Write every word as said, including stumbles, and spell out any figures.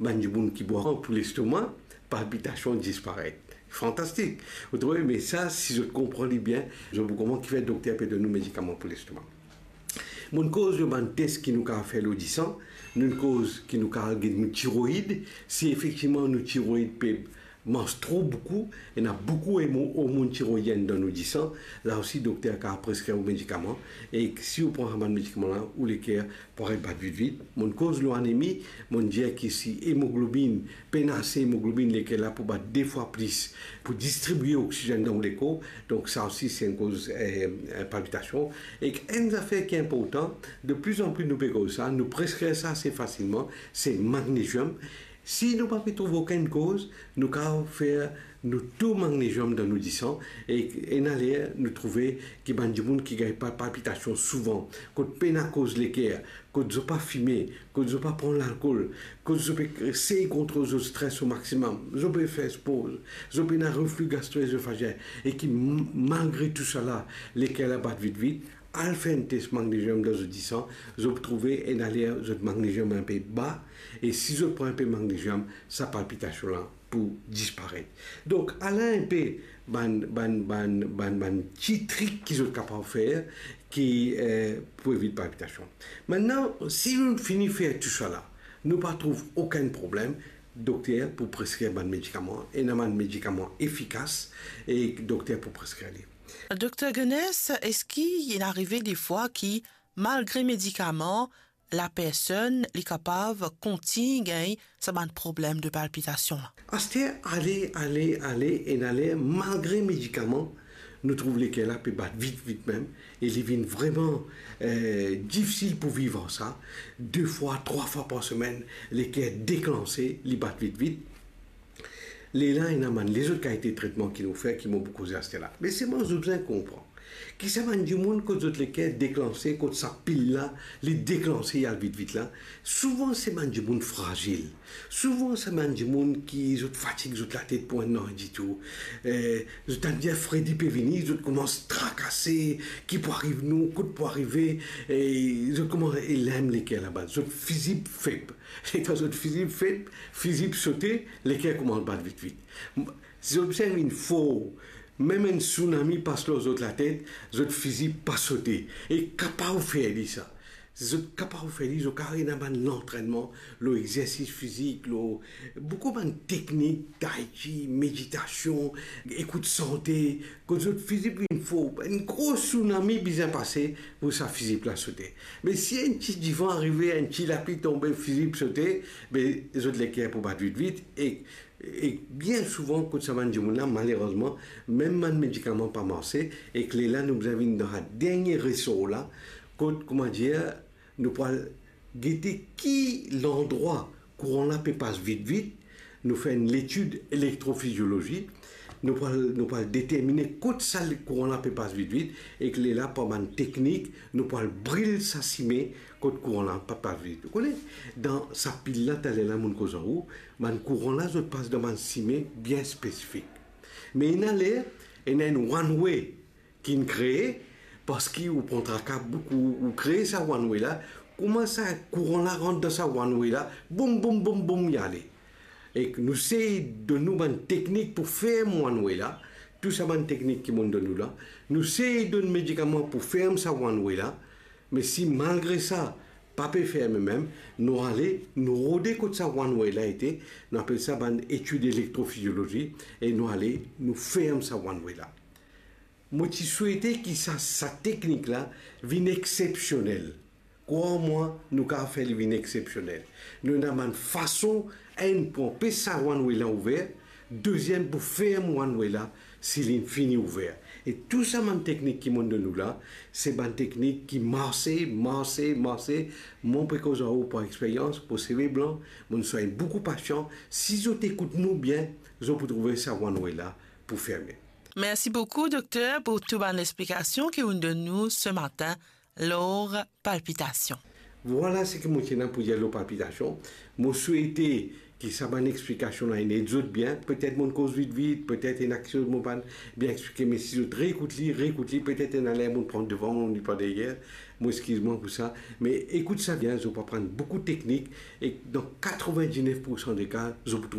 Bann dimoun ki bwar pou lestoma, palpitasion disparet. Fantastik. Ou trouve, me sa, si zot konpran li bien, zot pou konpran kifer dokter pe donn nou medikaman pou lestoma. Monn koz lor bann tes ki nou kapav fer lor disan, nou'nn koz ki nou kapav get nou tiroid, si efektivman nou tiroid pe mars tro boukou, ena boukou hormo-, hormonn tiroidienn dan nou disan, la osi dokter kapav preskrir ou medikaman, e si ou pran sa bann medikaman la, ou leker pou aret bat vit vit. Monn koz lor anemi, monn dir ki si emoglobinn, pena ase emoglobinn, leker la pou bat de fwa plis pou distribie oksizenn dan ou lekor. Donk sa osi se enn koz, eh, palpitasion. Ek enn zafer ki inportan, de pli an pli nou pe koz sa, nou preskrir sa ase fasilman, se magneziom. Si nou pa pe trouv okenn koz, nou kapav fer nou to magneziom dan nou disan, e ena ler nou trouve ki bann dimoun ki gagn pa-, palpitasion souvan, kot pena koz leker, kot zot pa fime, kot zot pa pran lalkol, kot zot pe sey kontrol zot stres o maximum, zot pe fer spor, zot pena refli gastro-ezofagyen, e ki m-, malgre tousala, leker la bat vit vit, al fer enn tes magneziom dan zot disan, zot pou trouve ena ler zot magneziom inpe ba, e si zot pran inpe magneziom, sa palpitasion la pou disparet. Donk, ala inpe bann, bann, bann, bann, bann ti trik ki zot kapav fer ki, eh, pou evit palpitasion. Mintnan, si nou fini fer tousala, nou pa trouv okenn problem, dokter pou preskrir bann medikaman, ena bann medikaman efikas, e dokter pou preskrir li. Dokter Gunness, eski inn arive defwa ki, malgre medikaman, lapersonn li kapav kontign gagn sa bann problem de palpitasion la? Aster, ale, ale, ale, ena ler, malgre medikaman, nou trouv leker la pe bat vit, vit mem, e li vinn vreman, eh, difisil pou viv ar sa. De fwa, trwa fwa par semenn, leker deklanse, li bat vit, vit. Lerla ena bann lezot kalite tretman ki nou fer, ki mo pou koze aster la. Me selman zot bizin konpran ki sa bann dimoun kot zot leker deklanse, kot sa pil la, li deklanse, li al vit vit la, souvan se bann dimoun frazil. Souvan se bann dimoun ki zot fatig zot latet pou enn nanye ditou. Eh, zot tann dir fredi pe vini, zot koumans trakase, ki pou ariv nou, kot pou arive, e zot koumans, e lem leker laba, zot fizib feb. Letan zot fizib feb, fizib sote, leker koumans bat vit vit. M-, si zot bizin vinn for, mem enn sounami pas lor zot latet, zot fizib pa sote. E kapav fer li sa. Zot kapav fer li, zot kapav ena bann lantrennman, lor exersis fizik, lor boukou bann teknik, tai chi, meditasion, ekout sante, kot zot fizib vinn for. Enn gro sounami bizin pase pou sa fizib la sote. Me si enn ti divan arive, enn ti lapli tonbe, fizib sote, be zot leker pou bat vit vit, e, e bien souvan kot sa bann dimoun la, malerezman, mem bann medikaman pa marse, ek lerla nou bizin vinn dan sa dernie resor la, kot, kouma dir, nou pou al gete ki landrwa kouran la pe pas vit vit, nou fer enn letid elektrofiziolozi, nou pou al, nou pou al determine kot sa kouran la pe pas vit vit, ek lerla par bann teknik, nou pou al bril sa sime kot kouran la pa pas vit. Ou kone, dan sa pil la, taler la monn koz ar ou, bann kouran la, zot pas dan bann sime bien spesifik. Me ena ler, ena enn one way, ki'nn kree, parski ou pran traka boukou, ou kree sa one way la, kouma sa kouran la rant dan sa one way la, boum, boum, boum, boum, li ale. Ek nou sey donn nou bann teknik pou ferm one way la, tou sa bann teknik ki monn donn nou la, nou sey donn medikaman pou ferm sa one way la, me si malgre sa, pa pe ferme mem, nou ale, nou rode kot sa one way la ete, nou apel sa bann etid elektrofiziolozi, e nou ale, nou ferm sa one way la. Mo ti swete ki sa, sa teknik la vinn exsepsionel. Krwar mwa, nou kapav fer li vinn exsepsionel. Nou ena bann fason, enn pou anpes sa one way la ouver, deziem pou ferm one way la, si li fini ouver. E tou sa bann teknik ki monn donn nou la, se bann teknik ki marse, marse, marse. Mo pe koz ar ou par experyans, mo seve blan, monn swagn boukou pasian. Si zot ekout nou bien, zot pou trouve sa one way la pou ferme. Mersi boukou, dokter, pou tou bann explikasion ki ou'nn donn nou se matin lor palpitasion. Vwala seki mo ti ena pou dir lor palpitasion. Mo swete ki sa bann explikasion la inn ed zot bien. Petet mo'nn koz vit vit, petet ena kiksoz mo pa'nn bien explike, me si zot reekout li, reekout li, petet ena ler mo'nn pran devan, mo'nn li par deryer, mo eskiz mwa pou sa, me ekout sa bien, zot pou aprann boukou teknik, e dan katrevin-diznef poursan de ka, zot pou